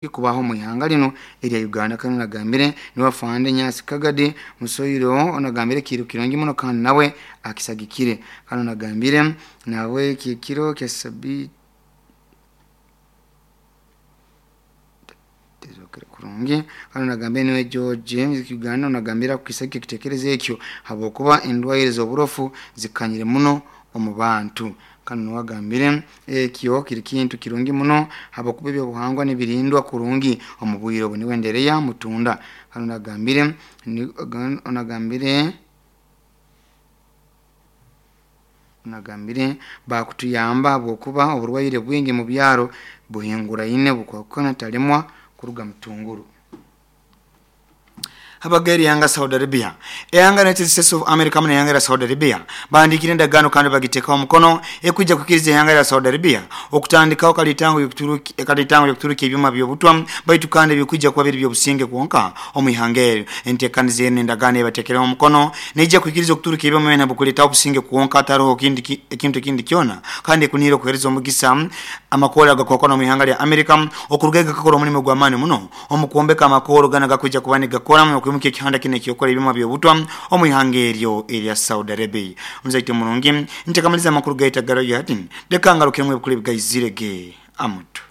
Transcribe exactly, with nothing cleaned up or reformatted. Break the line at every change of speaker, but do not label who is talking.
Kubaho mu ihanga lino erya Uganda. Kandi onagambire niwe afande Nyasi Kagadi Musoiro onagambire kiro kirungi muno kandi nawe akisagikire. Kandi onagambire nawe kikiro kya sabi kurungi. Kandi onagambire niwe George Uganda onagambire akukisagika ekitekerezo ekyo habwokuba endwaire z'oburofu zikanyire muno omu bantu. Kandi niwagambire ekyo kiri kintu kirungi muno habwokuba ebyobuhangwa nibirindwa kurungi omu bwire obu. Niwe Ndereya Mutunda. Kandi onagambire onagambire onagambire bakutuyamba habwokuba oburwaire bwingi mu byaro buhinguraine bukwakukana talemwa kuruga mutunguru. Habageri yanga Saudi Arabia, eyanga United States of America na yanga ya Saudi Arabia bandikire endagaano kandi bagitekaho omukono ekwijja kukiriza eyanga ya Saudi Arabia okutandikaho kalitango y'okuturuki kalitango y'okuturuki ebyuma by'obutwa baitu kandi ebikwijja kuba biri by'obusinge kwonka omu ihanga eryo. Enteekaniza eno endagaano ebatekereho omukono neijja kwikiriza okuturuka ebyuma byona bukuleetaho obusinge kwonka hataroho kindi ekintu ekindi kyona, kandi ekuniire okuheereza omugisa amakoora agakwakwana omu ihanga lya America okuruga gakakora omulimu gw'amaani muno omu kwombeka amakooro gana gakwijja kuba nigakora okwimuka ekihanda kino ekyokora ebyuma by'obutwa omu ihanga eryo erya Saudi Arabia. Omuzaite murungi ntekamaliza amakuru gaita garo yati leka ngarukiremu ebikuru ebigaizirege amutu.